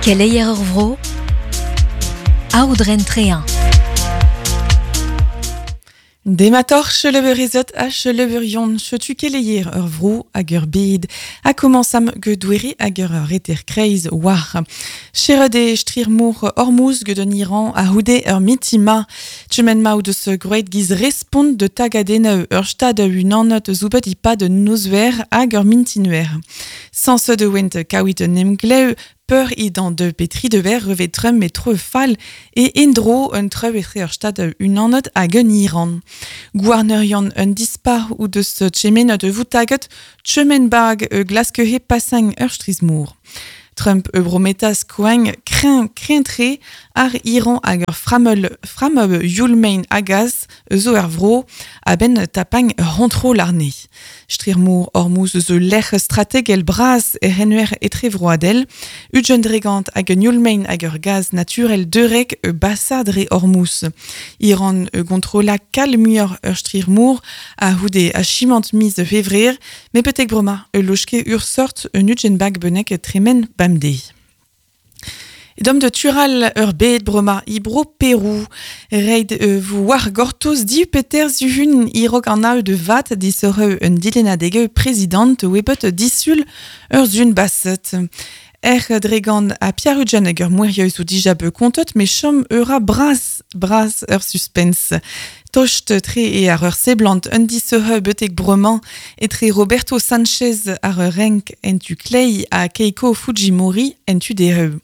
Keleier ur vro, Aodren Trehin. Dematoc'h chelebeurezed ha chelebeurion, setu keleier ur vro hag ur bed, ha komañsam get doere hag ur reter-kreiz war. Serret eo strir-mor Hormuz get an Iran a-c'houde ur mitima. Tremen ma o deus groet giz respont de tagadennoù ur stad unanet zo bet e-pad un nozver hag ur mintinver. Sañset e oent kaouit un emglev peur idan de petri de ver revet trum met tro fall e endro un treu etre ur stad unanet hag un Iran. Gouarnerion un dispar ou deus tchemen de voutaget tchemen bag e glaskehe passang ur strizmour. Trump e brometas koagn kreñv kreñv-tre ar Iran hag ur frameul frammeul youl-mein a-gas eus zo er vro a-benn tapagn ur c'hontrol àrne. Strir-mor Hormuz eus ul lec'h strategel bras er c'henwer etrevroadel, ugent dregant hag un youl-mein hag ur gaz naturel deurek e basa dre Hormuz. Iran e gontrolla kal muioc'h ur strir-mor a-c'houde achimant miz Fevrer, met betek bremañ e loske ur sort un ugent bag bennak tremen bemdez. Dom de tural ur bed bremañ e bro Perou. Reit vo war gortoz div peter zuhun e-raok an aeu de vat disoreu un dilennadeg prezidant webet disul ur zun baset. Er dregant a Pierre-Ugent hag ur mouerioù zo dija bet kontet, met chom ura bras, bras ur suspens. Tost tre e ar ur seblant un disoreu betek bremañ etre Roberto Sanchez ar ur renk en tu klei ha Keiko Fujimori en tu dereu.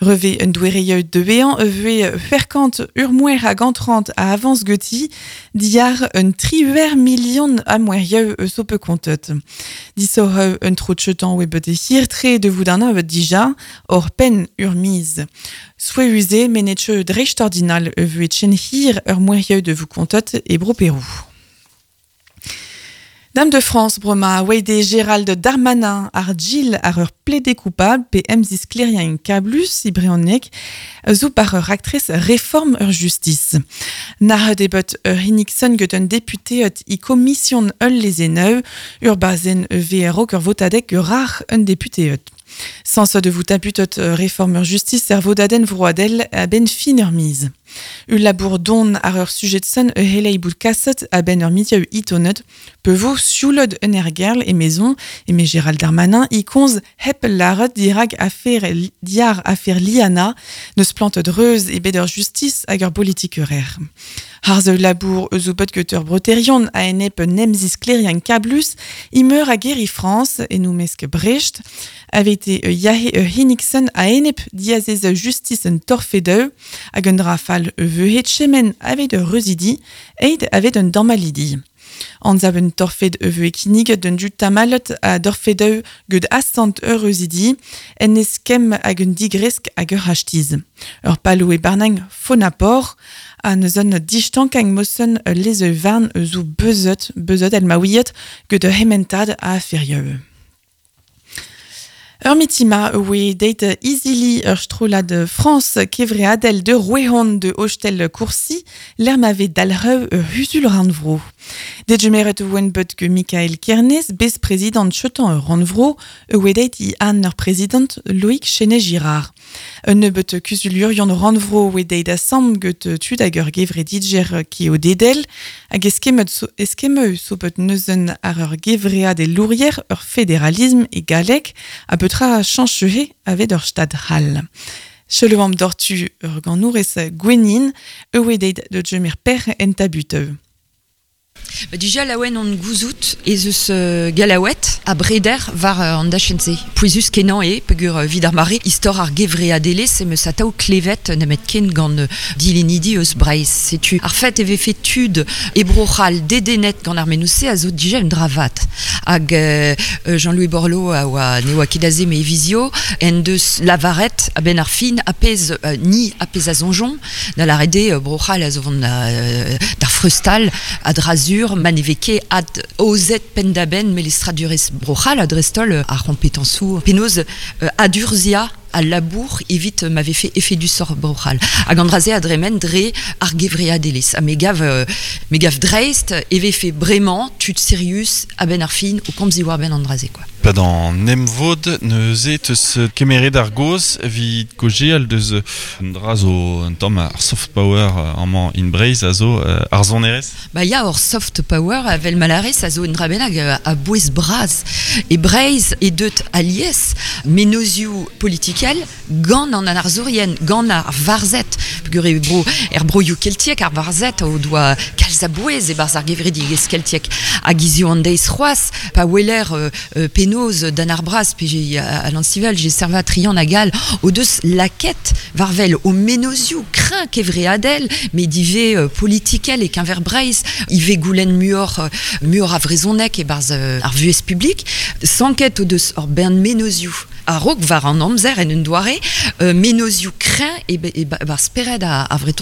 Reve un doereioù deveañ e voe ferkant ur mouer hag antrant a avañs geti diàr un triwec'h milion a mouerioù eus o pe kontet. Disoreu un tro chetan oe bet hir-tre de vout an evet dija hor penn ur miz. Souezhus menetcheu dreistordinal e voe chen hir ur mouerioù de vous kontet e bro Perou. Dame de France brema oe Gérald Darmanin ar Gilles ar ur plaidé coupable pe emzis kleriañ kablus e brezhoneg zo par ur raktres réforme ur justice. Nac'het eo bet ur Nixon get un député i komision ul lezeneu ur bazenn VRO ur votadeg ur rac'h un député ut. Sans de vous taputot réforme ur justice er vodadenn vroadel a-benn fin ur miz. Ul labour don ar ur sujet son e helei bout kaset a-benn ur mitieu itonet pe vo sioulod un ergerl e maison e me Gérald Darmanin i konz hep laret dirag afer diar afer Liana neus plant dreuz e bet ur justice hag ur politik eurer. Harz ul labour eus o bet get ur breterion a enep nemzis klerian kablus i meur a geri France e nou mesk Brecht avait e yahe e Heniksen a enep diazez justice un torfedeu hag un drafal e veuhet chemen avait ur reuzidi eid avait un damalidi. Anzav un torfed e veu kinnig d'un du tamalet a dorfedeu get asant ur reuzidi en eskem hag un digresk hag ur hachtiz. Ur palo e barnang fonapor a neus un distankang mosen leze varn eus o beuzet, beuzet el maouiet get ur hementad a aferieu. Ur mitima oe deit izili ur strollad France kevreadel de Rouehon de Hostel Courcy, l'er ma vez dalc'heu ur huzul rannvro. Degemeret oen bet ge Michael Kernes, bez-prezidant chetan ur rannvro, oe deit i an ur prezidant Loïc Chenet-Girard. Un nebeut kuzulurion rannvro oe deit asam get tud hag ur gevredidjer ki o dedel, hag eskemet so, eskemeu so bet neuzen ar ur gevread e lourier ur fédéralisme e galleg a petra chanchehe avet ur stad c'hall. Chelevam dortu ur ganour ez gwenin, oe deit de djemir per en tabuteu. Ba, dija laouen on gouzout ez eus galaouet a breder war an dachenn-se. Pouezus kenañ eo peogwir evit ar mare istor ar gevreadelezh em eus atav klevet nemet ken gant dilennidi eus Breizh. Setu ar fet e vefe tud e Bro-C'hall dedennet gant ar mennozh-se a zo dija un dra vat. Hag Jean-Louis Borloo a oa ne oa ket aze me e vizio en deus lavaret a-benn ar fin a pezh ni a pezh a soñjomp da lâret eo Bro-C'hall a zo vont d'ar freustal a-dra-sur ma ne vez ket ad aozet penn-da-benn melestradurezh Bro-C'hall ha dreist-holl ar c'hompetañsoù penaos adurzhiañ a labour evit ma vefe efedusoc'h Bro-C'hall. Hag an dra-se a dremen dre ar gevreadelezh. Ha me gav dreist e vefe bremañ tud sirius a-benn ar fin o komz diwar-benn an dra-se, quoi. Pad an emvod neuze teus kemeret ar gaoz evit kaozeal deus un dra zo un tamm ar soft power amañ in Breizh a zo ar sonerezh. Ba ya, hor soft power evel ma lârez a zo un dra bennak a-bouez bras. E Breizh eo deut alies mennozhioù politikel gant an arzourien, gant ar varzhed, peogwir eo bro, er broioù keltiek ar varzhed o doa kalz a bouez e-barzh ar gevredigezh keltiek. Hag hiziv an deiz c'hoazh, pa weler penaos Dan ar Braz pe Alan Stivell, Gilles Servat, Trian hag all o deus lakaet war-wel o mennozhioù kreñv kevreadel, met ivez politikel e-keñver Breizh, ivez goulenn muioc'h muioc'h a vrezhoneg e-barzh ar vuhez publik. Sanket o deus ur bern mennozhioù a-raok war an amzer en un doare, mennozhioù kreñv e-barzh spered ar Vretoned.